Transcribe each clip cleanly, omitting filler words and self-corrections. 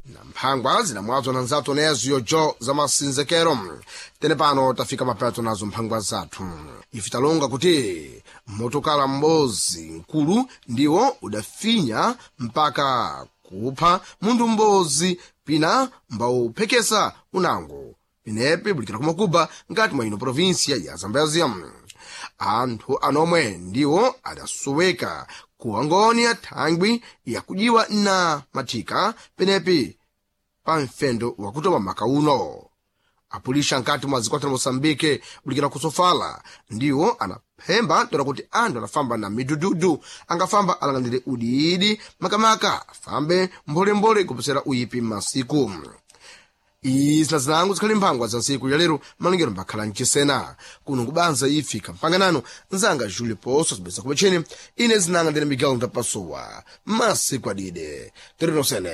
Na mphangwa zinamwazwa na nzathu nezo yojo za masinzekero. Tene pano tafika mapeto nazo mphangwa zathu. Ife talonga kuti motokala m'bozi mkulu ndiwo udafinya mpaka kupha munthu m'bozi pina mbawuphekesa unango pinepi bulikira kumakuba ngati mwa ino provinsia ya Zambezia. Anthu anomwe ndiwo adasoweka ku Angonia thangwi yakujiwa na mathika penepi pa mfendo wakutoma maka uno. Apulisha nkati mwa zikwata la Moçambique bulikira kusofala ndiwo anaphemba tola kuti anthu anafamba na midududu angafamba alanganire udiidi makamaka afambe mbolembole kuposera uyipi masiku. Izi zinango zikhali mphangwa za ntsiku ya lero malingiro mbakhala mchisena kuno kubanza ifika mpanganano nzanga Julio Poço zibweza kupetcheni ine zinanga ndine Miguel Ndapasowa masiku adide terinosene.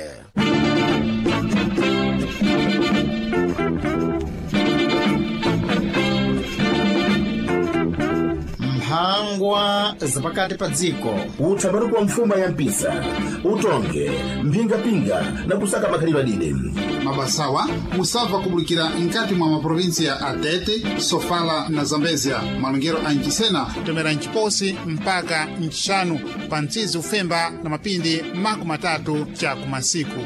Mphangwa zapakati pa dziko. Utsambanuko wa mfuma ya mpisa utonge mphingapinga na kusaka makhalidwe adide. Mabasawa musabva kubulikira nkati mwa maprovinsia a Tete, Sofala na Zambezia. Malongero a Nchisena tomera nciposi mpaka ncixanu pa mtsizi ufemba na mapindi 30 cha kumasiku.